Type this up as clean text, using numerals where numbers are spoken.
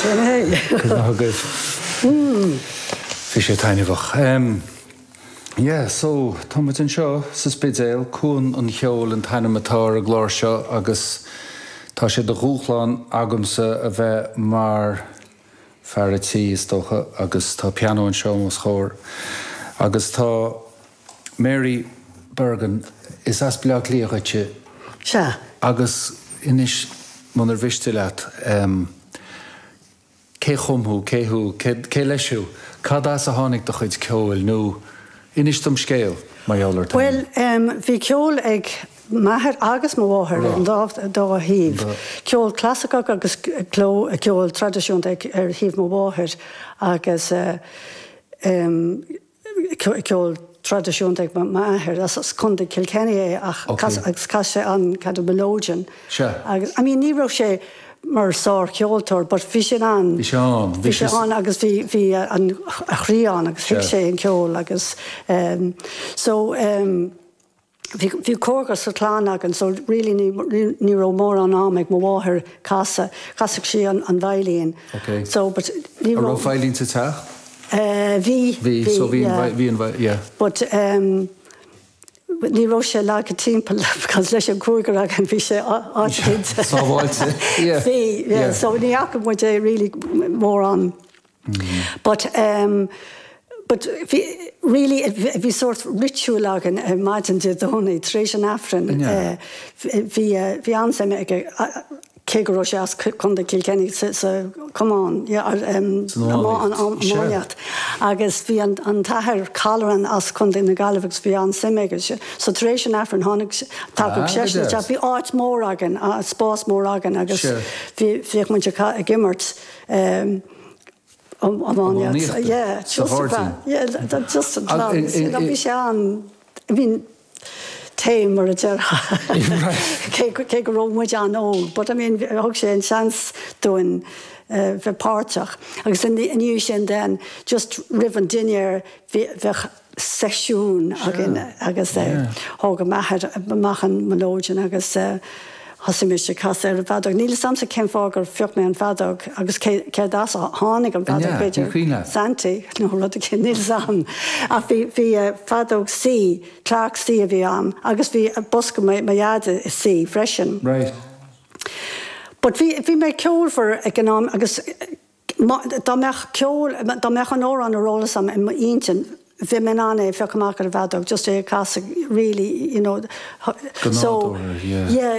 Sin é. Cuid mhaith agaibh. Bhí sé taitneamhach. Yeah, so, tá muid anseo sa Spidéal, Cuan an Cheoil an t-ainm atá ar an gclár seo agus tá sé de dhúshlán agamsa a bheith mar fear a' tí, is dócha, agus tá pianó anseo os mo chomhair agus tá Mary Bergin, is as Baile Átha Cliath dhuitse. Sea. Agus inis, munar mhiste leat, cé chum thú, cé thú, cé leis thú, cad as a tháinig do chuid ceoil nó inis dom scéal mar gheall ort féin. Bhuel, bhí ceol ag m'athair agus mo mháthair ar an dá thaobh, ceol clasaiceach agus ceol traidisiúnta ar thaobh mo mháthair agus ceol traidisiúnta ag m'athair. As Contae Kilkenny é ach agus chas sé an kind of melodeon. Agus I mean ní raibh sé mar sár-cheoltóir but bhí sé in ann. Bhí sé ann. Bhí sé ann agus bhí bhí an a chroí ann agus thuig sé an ceol agus so Bhí bhí cúigear sa chlann againn so really ní ní raibh mórán am ag mo mháthair casadh. Chasadh sí an an veidhlín. Ok. So but ní raibh. An raibh veidhlín sa teach? Eh bhí. Bhí, so bhí an bhí an yeah. But ehm ní raibh sé leagtha timpeall because leis an cúigear againn bhí sé áit éicint. Sábháilte. Yeah. Bhí, yeah. So ní fhaca muid é really mórán. But ehm but bhí really bhí sórt ritual againn ar maidin Dé Domhnaigh tar éis an Aifrinn eh bhí bhí an-suim aige cé go raibh sé as Contae Kilkenny sa sa camán yeah ehm iománaíocht agus bhí an an t-athair Colleran as Contae na Gaillimhe agus bhí an-suim aige so tar éis an Aifrinn tháinig thagadh seisean isteach bhí áit mór againn spás mór againn agus bhí bhíodh muid ag imirt ehm iománaíocht yeah sa ghairdín. Yeah just an clann you know bhí sé an I mean tame mar a déarfá cé cé go raibh muid an-óg but I mean thug sé an seans dúinn bheith páirteach agus i ndiaidh sin then just roimh an dinnéar bheadh seisiún againn agus thóg m'athair amach an melodeon agus thosaigh mise ag casadh ar an bhfeadóg. Níl 'fhios a'msa cén fáth gur phioc mé an feadóg agus céard as a tháinig an feadóg, b'fhéidir Santy nó rud éicint, níl 'fhios a'm. Ach bhí bhí feadóg C, Clarke C a bhí a'm agus bhí bosca mo dhaid i C freisin. But bhí bhí mé ceolmhar ag an am agus Dá mbeadh ceol, dá mbeadh an amhrán ar eolas agam i m'intinn, bheadh mé in ann é a phiocadh amach ar an bhfeadóg, just é a chasadh really, you know. Go nádúrtha, yeah. Yeah.